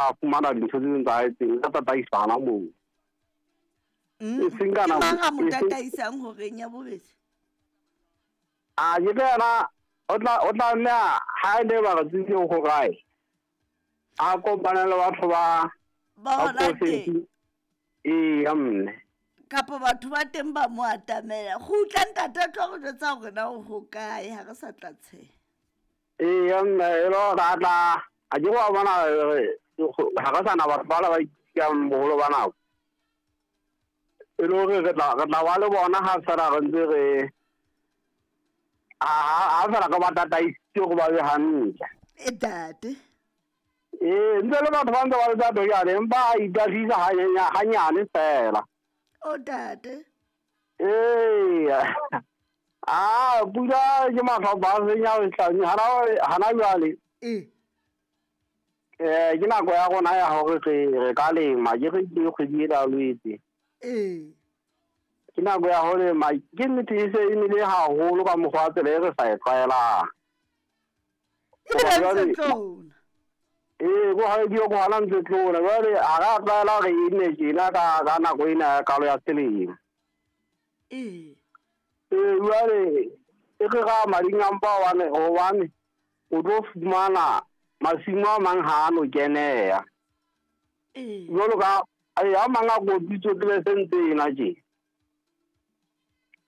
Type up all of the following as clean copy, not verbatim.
A fumana dintho tse ding tsa hae teng, a tataisana moo. E seng ka Ke nako mang a mo e seng tataisang horeng ya bobedi? A ke le yena o tla nne ha e le ba re tsebile ho kae. A kopane le batho ba Ba ba hona teng. profesi. Eya mme. Kapa batho ba teng ba mo atamela. Kgutla ntate a tlo re jwetsa hore na o hokae ha re sa tla tsheha. Eya mme e le hore a tla a ke wa bona ha re sana batho ba la ba ikang boholo ba nako. E le hore re tla ba le bona ha fela re ntse re ha fela re ba tataisitse hore ba be hantle. E ntate. Ee, ntse le batho ba ntse ba le thato jwale, empa a itahlisa hanyane fela. O ntate. Ee. Ah, pula ke mahlopha a senya sehlane hana jwale. Ee. Ke nako ya rona ya hore re ka lema, ke re ke kgwedi ena ya Lwetse. Ee. Ke nako ya ho lema, ke nnete e se e nele haholo ka mokgwa wa tsela e re sa e tlwaelang. Ebile Hoba ntse jwale tlola. Ee, ko ha dio ko hana ntse tlola. Jwale ha ra tlwaela hore e nne tjena ka nako ena ya kalo ya selemo. Ee. Ee, jwale e re ra mading a mpa hobane o tlo fumana masimo a mang ha a no keneha. Ee. Jwalo ka a mang a kotutse tsebe se ntse ena tje.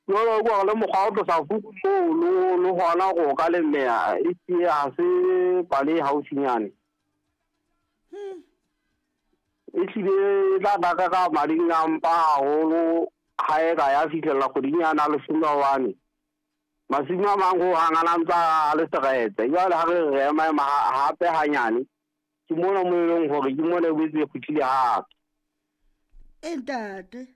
Jwalo ka le mokgwa o tlosa fuku moo le hona hore o ka lemeha e sie ha se pale e haufinyane. E hlile e tla tla ka mading a mpa haholo ha e ka ya fihlella kgweding yana ya leshome hobane masimo a mang hohang a na ntsa a le seretse. Jwale ha re re ema ema hape hanyane, ke mona mo e leng hore ke mona e boetse e kgutlile hape. E ntate.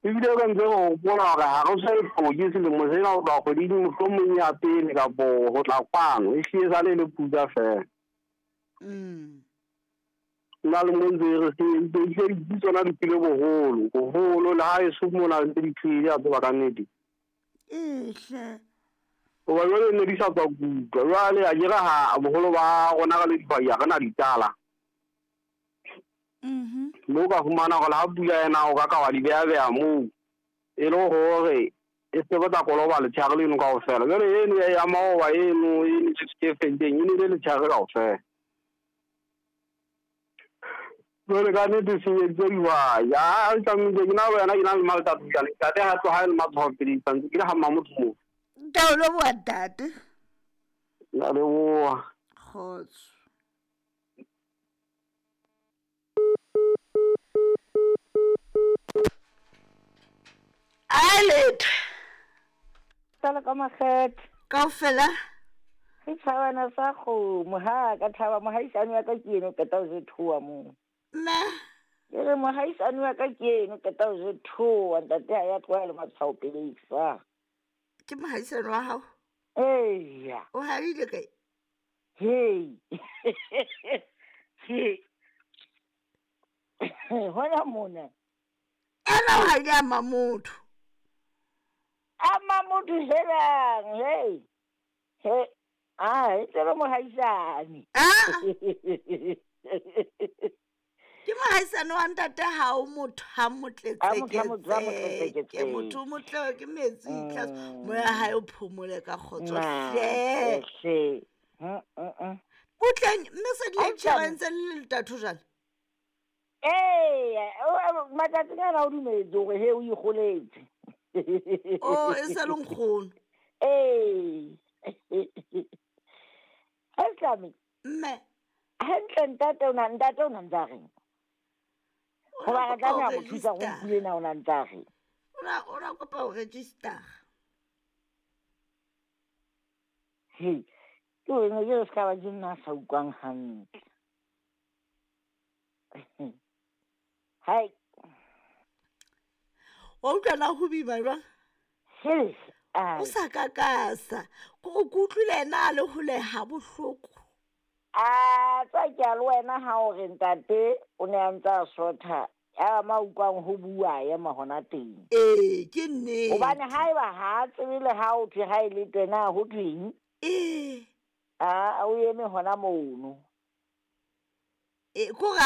Ebile re ntse re hopola hore ha re so e hloke selemo sena ho tloha kgweding mohlomong ya pele kapo ho tla kwano, e hlile sale e le pula fela. Nna le mo ntse re se ntse di tsona di tlile boholo, boholo le ha eso mona ntse di tlile a tseba ka nnete. Ehle. Hoba jwale ne di sa tswa kutwa, jwale a ke re ha boholo ba rona re le dihwai ha re na ditala. Mme o ka fumana hore le ha pula ena o ka ka wa di beha-beha moo, e le hore e se tla koloba letshehare leno kaofela. Jwale eno ya maoba eno e e felleng e nele letshehare kaofela. Jwale ka nnete senyeditse dihwai. Ha tlamehile ke na le wena ke na le maltapisane, ntate ha tloha e le matshwao pele santse ke le ha mmamotho moo. Ke a o leboha ntate. Ke a leboha. Kgotso. A letho. Tsala ka makgethe. Kaofela. Ke thabana sa kgomo ha ka thaba mohaisane wa ka ke eno qeta ho jethoa moo. Mme. Ke re mohaisane wa ka ke eno qeta ho jethoa ntate ha ya tloha le matshwao pele sa. Ke mohaisane wa hao? Eya. O haile kae? Hey. Hey. Hona mona. Ena o haile a mamotho. A mamotho helang, hey. Hey. Ah, e tsebe mohaisane. Ah. Ke mohaisane wa ntate ha o motho ha motletseketse. Ke motho motle ke metsi tlase. Moya hae o phomole ka kgotso hle. Hle. Butleng mme se di insurance le letatho jwale. Ee, matsatsing ana o dumetse hore he o ikgoletse. Oh, e sa le nkgono. Ee. Haslami. Mme. Hantle ntate o na ntse a reng? Hoba re tlameha ho thusa go mpule na o na ntse a reng? O na kopa ho register. He, ke wena ke re se ka ba ke nna a sa utlwang hantle. Hai. Wa utlwa na ho boima jwang? He, O sa kakasa. Ko ke utlwile ena a le hole ha bohloko. A tsa ke a le wena ha o re ntate o ne a ntse a sotha. Ya ma utlwang ho bua ema hona teng. Ee, ke nnete. Hobane haeba ha tsebe le ha o thwe ha e le tena ho thweng. Ee. A o eme hona mono. E ko ra